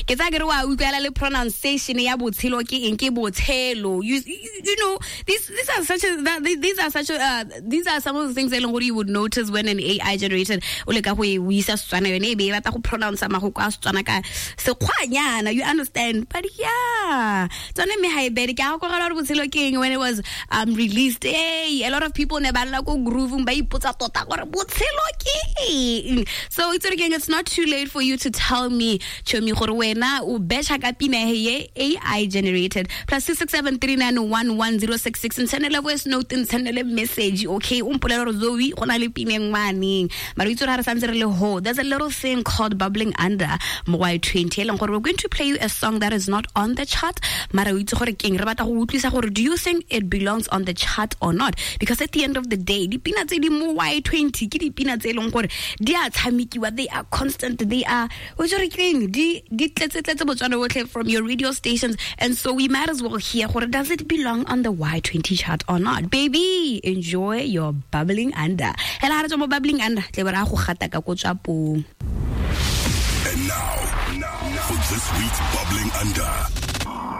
Ke tsaya ke re wa utlwela le pronunciation ya botshelo ke eng, ke botshelo. You know these are such a, that, these are such a, these are some of the things e leng gore you would notice when an AI generated o leka go e o isa Setswana, yone e be e batla go pronounce magoko a Setswana ka sekgwanyana, you understand? But yeah, tsone mme ga e bere ke a gakogela gore botshelo ke eng, when it was released, hey, a lot of people ne ba lla ko grooving, ba ipotsa tota gore botshelo ke eng. So it's again, it's not too late for you to tell me, chomi, gore wena o betšha ka pina ye AI generated. +267 3911066, ntshwanele voice note, ntshwanele message, okay? O mpolele gore, "Zoe, go na le pina e ngwaneng." Mara o itse gore ga re santse re le ho, there's a little thing called bubbling under mo Y20, e leng gore we're going to play you a song that is not on the chart, mara o itse gore keng, re batla go utlwisa gore do you think it belongs on the chart or not? Because at the end of the day, dipina tse di mo Y20 ke dipina tse e leng gore di a tshamekiwa, they are constant, they are, o itse gore keng, di tletse-tletse Botswana botlhe from your radio stations, and so we might as well hear gore does it belong on the Y20 chart or not. Baby, enjoy your bubbling under. Hela ga re tswa mo bubbling under, tle be re a go gata ka ko tswapong. And now, for this week's Bubbling Under.